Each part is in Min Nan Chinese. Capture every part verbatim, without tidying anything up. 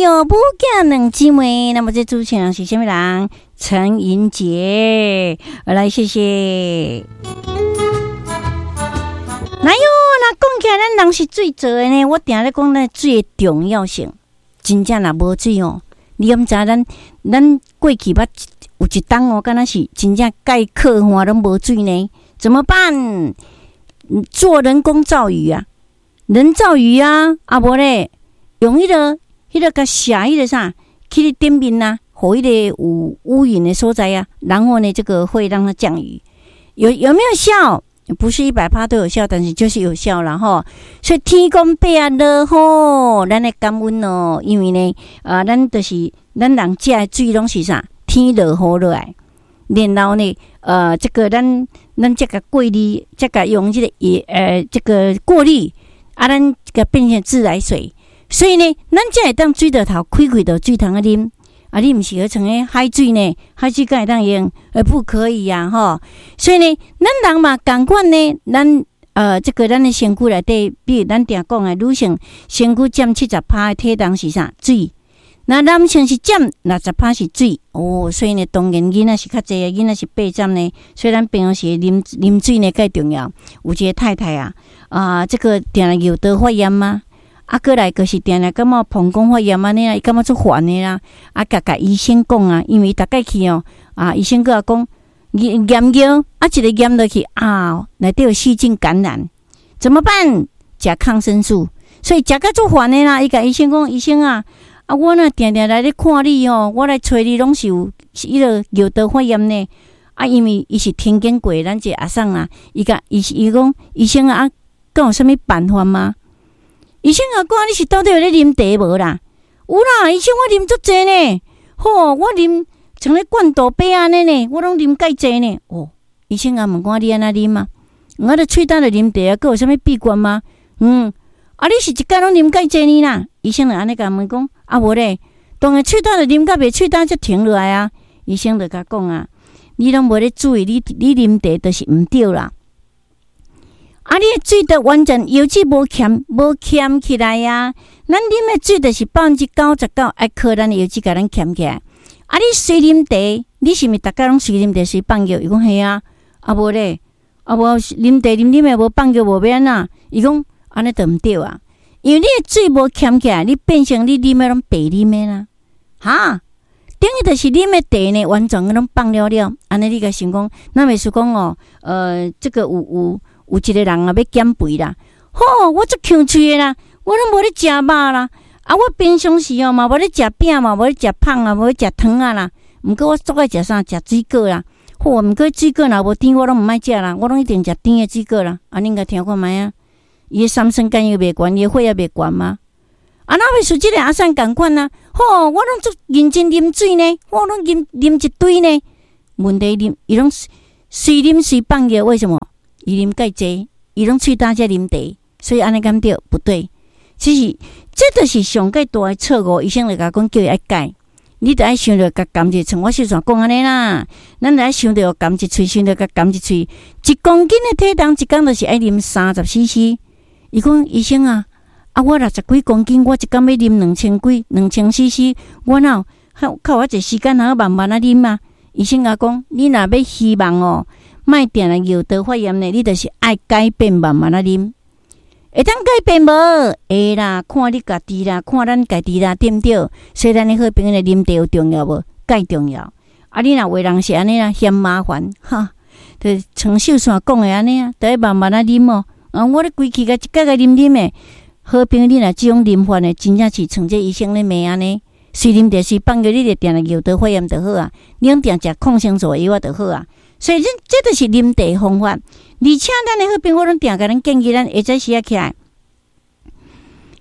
喲，母囝兩姊妹。那麼這主持人是啥物人？陳銀杰，來，謝謝。來喲，若講起來，咱人是水做的呢。我定咧講，咱水的重要性，真正若無水哦，你敢知咱咱過去捌有一冬哦，敢若是真正蓋渴旱攏無水呢？怎麼辦？做人工造雨啊，人造雨啊，啊無咧，用彼個彼個共射彼個啥，去頂面啊，予彼個有烏雲的所在啊，然後呢，這個會讓它降雨，有有沒有效？不是一百趴都有效，但是就是有效了吼。所以天公伯啊落雨，咱來感恩哦，因為呢，啊，咱就是咱人食的水攏是啥？天落雨落來，然後呢，呃，這個咱咱這個過濾，這個用這個也呃這個過濾，啊，咱這個變成自來水。所以呢，咱才會當水喉頭開開就水通啊啉。啊，你毋是去像彼海水呢？海水敢會當用？呃，不可以呀，吼。所以呢，咱人嘛仝款呢，咱呃，這個咱的身軀內底，比如咱定講的女性身軀佔七十趴的體重是啥？水。那男性是佔六十趴是水。哦，所以呢，當然囡仔是較濟，囡仔是八針呢。所以咱平常時啉啉水呢，較重要。有一個太太啊，啊，這個定定尿道發炎嗎？啊，閣來就是定定感覺膀胱發炎按呢啊，伊感覺足煩的啦。啊，共共醫生講啊，因為逐擺去哦，啊，醫生閣共講驗驗尿，啊，一个驗落去啊，內底有細菌感染，怎麼辦？食抗生素，所以食甲足煩的啦。伊共醫生講，醫生啊，啊，我若定定來咧看你哦，我來揣你攏是有彼个尿道發炎呢。啊，因為伊是聽見過咱這個阿桑啊，伊共伊伊講醫生啊，敢有啥物辦法嗎？醫生啊，講你是到底有咧啉茶無啦？有啦，醫生我啉足濟呢。吼，我啉像咧罐豆杯按呢呢，我攏啉蓋濟呢。哦，醫生啊問我你按怎啉啊？我咧喙焦就啉茶啊，閣有啥物秘訣嗎？嗯，啊你是一工攏啉蓋濟呢啦？醫生就按呢共問講，啊無咧，當然喙焦就啉甲袂喙焦才停落來啊。醫生就共講啊，你攏無咧注意，你你啉茶就是毋對啦。啊！你的水都完全腰子無鉗無鉗起來啊！咱啉的水就是百分之九十九愛靠咱的腰子共咱鉗起來。啊！你隨啉茶，你是毋是逐工攏隨啉茶隨放尿？伊講係啊，啊無咧，啊無啉茶啉啉的無放尿無欲按怎？伊講按呢就毋對啊，因為你的水無鉗起來，你變成你啉的攏白啉的啦，哈！等於就是啉的茶呢，完全攏放了了。按呢你共想講，咱袂輸講哦，呃，這個有有。有一個人啊，欲減肥啦，吼，我足強喙的啦，我攏無咧食肉啦，啊，我平常時哦嘛無咧食餅嘛，無咧食麭啊，無咧食糖仔啦。毋過我足愛食啥？食水果啦。好，毋過水果若無甜，我攏毋愛食啦，我攏一定食甜的水果啦。啊，恁共聽看覓啊？伊的三酸甘油袂懸，伊的血壓袂懸嗎？啊，若欲輸這個阿桑仝款啊？吼，我攏足認真啉水呢，我攏啉啉一堆呢。問題啉，伊攏隨啉隨放尿，為什麼？伊啉蓋濟，伊攏喙焦才啉茶，所以按呢敢對？不對，其實這就是上蓋大的錯誤。醫生就共講，叫伊愛改，你著愛想著共含一像我小旋講按呢啦，咱著愛想著含一喙，想著共含一喙，一公斤的體重，一工就是愛啉三十 C C。伊講醫生啊，啊我六十幾公斤，我一工欲啉兩千幾、兩千 C C，我哪有較有遐濟時間通慢慢仔啉啊？醫生共講，你若欲希望哦，莫定定尿道發炎呢，你就是愛改變慢慢仔啉，會當改變無？會啦，看你家己啦，看咱家己啦，對毋對？所以咱的好朋友啉茶有重要無？蓋重要。啊，你若有的人是按呢啦，嫌麻煩，哈，就像秀璇講的按呢啊，著愛慢慢仔啉哦。啊，我咧規氣共一擺共啉啉的，好朋友你若這種啉法呢，真正是像這醫生咧罵按呢。隨啉茶隨放尿，你就定定尿道發炎就好啊。你攏定食抗生素藥仔就好啊。所以，這這就是啉茶方法。而且，咱的好朋友，我攏定共咱建議，咱下早時仔起來，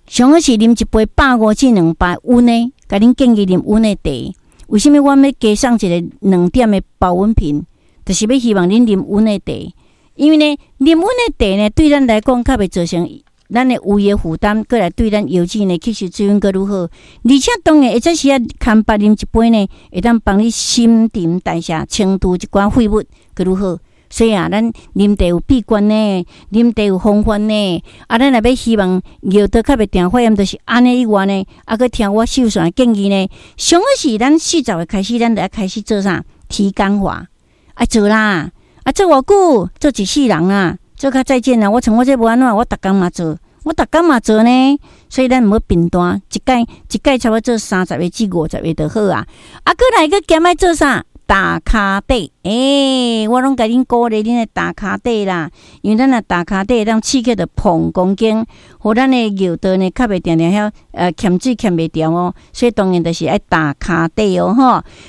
上好是啉一杯百五至兩百溫的，共恁建議啉溫的茶。為啥物我欲加送一个兩點的保溫瓶？就是欲希望恁啉溫的茶，因為呢，啉溫的茶呢，對咱來講較袂造成咱的胃的負擔，閣來對咱腰子呢吸收水分閣愈好。而且當然下早時仔牽腹啉一杯呢，會當幫你新陳代謝、清除一寡廢物，閣愈好。所以啊，咱啉茶有秘訣呢，啉茶有方法呢。啊，咱若欲希望尿道較袂定發炎，就是按呢以外呢，啊，閣聽我秀璇的建議呢。上好是咱四十歲開始，咱就愛開始做啥？體感化，愛做啦！啊，做偌久？做一世人啊！做較再見啦！我像我這無按怎，我逐工嘛做，我逐工嘛做呢。所以咱毋好貧惰，一擺一擺差不多做三十个至五十个就好啊。啊，閣來閣兼愛做啥？踏跤底，欸，我攏共恁鼓勵恁來踏跤底啦，因為咱若踏跤底，當刺激著膀胱經，予咱的尿道呢較袂定定遐呃欠水欠袂牢哦，所以當然就是愛踏跤底哦，吼。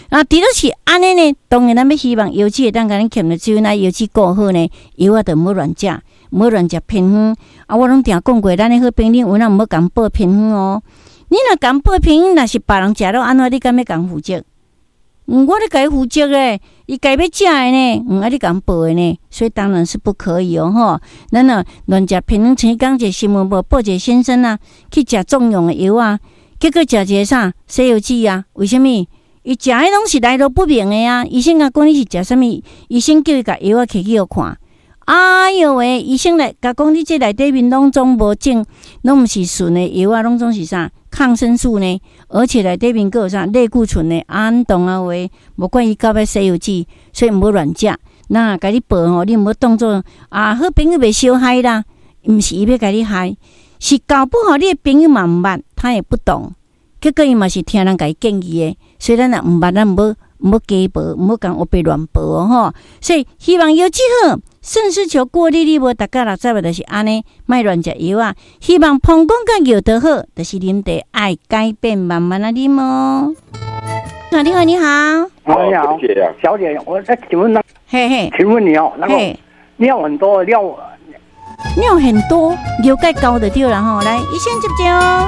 啊，除了是按呢呢，當然咱欲希望腰子會當共咱欠著水，那腰子顧好呢，藥仔就毋好亂食，毋好亂食偏方。啊，我攏定講過，咱的好朋友有哪毋好共報偏方哦。你若共報偏方，若是別人食了按怎，你敢欲共負責？嗯，我咧共伊負責咧，伊家欲食的呢，嗯，啊你共報的呢，所以當然是不可以哦，吼。咱若亂食偏方，前工一個新聞無報一個先生啊，去食壯陽的藥啊，結果食一個啥西藥劑啊？為啥物？伊食彼攏是來路不明的啊！醫生共講你是食啥物？醫生叫伊共藥仔摕去予看。哎喲喂！醫生來共講你這內底面攏總無種，攏毋是純的藥啊，攏總是啥抗生素呢？而且內底面閣有啥類固醇呢？安動啊話，無管伊到尾西藥劑，所以毋好亂食。那共你報吼，你毋好當做啊好朋友袂相害啦，毋是伊欲共你害，是搞不好你的朋友嘛毋捌，他也不懂，結果伊嘛是聽人共伊建議的，所以咱若毋捌，咱毋好毋好加報，毋好共烏白亂報哦吼。所以希望藥劑好。腎絲球過濾你無，逐家六十個就是按呢，莫亂食藥啊。希望膀胱佮尿道好，就是啉茶愛改變，慢慢仔啉哦。你好，你好，你好，小姐，我再請問那，嘿嘿，請問你哦，那個尿很多，尿尿很多，尿蓋高就對了吼。來，醫生接招。